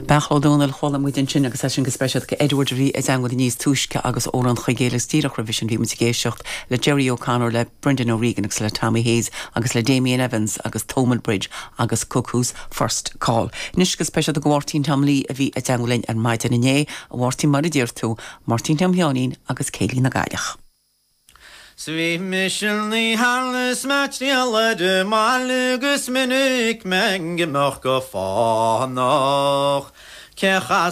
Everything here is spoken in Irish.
Beairtle Ó Domhnaill, Chuala muid ansin agus é sin go speisialta go Edward a bhí i dteangmháil linn níos túisce agus Amhrán Chuigéil agus díreach roimhe sin bhí muid ag éisteacht le Gerry O'Connor, le Brendan O'Regan agus le Tommy Hayes agus le Damien Evans agus Thomond Bridge agus Cuckoo's First Call. Anois go speisialta go Mháirtín Tom Lee a bhí i dteangmháil linn ar maidin inné. A Mháirtín mar a deir tú, Máirtín Tom Sheáinín agus Céilí na gCailleach. 'S bhí mise 'na sheal is mé triall ar an mbaile 'gus minic mé ag imeacht go fánach. Cé a chas.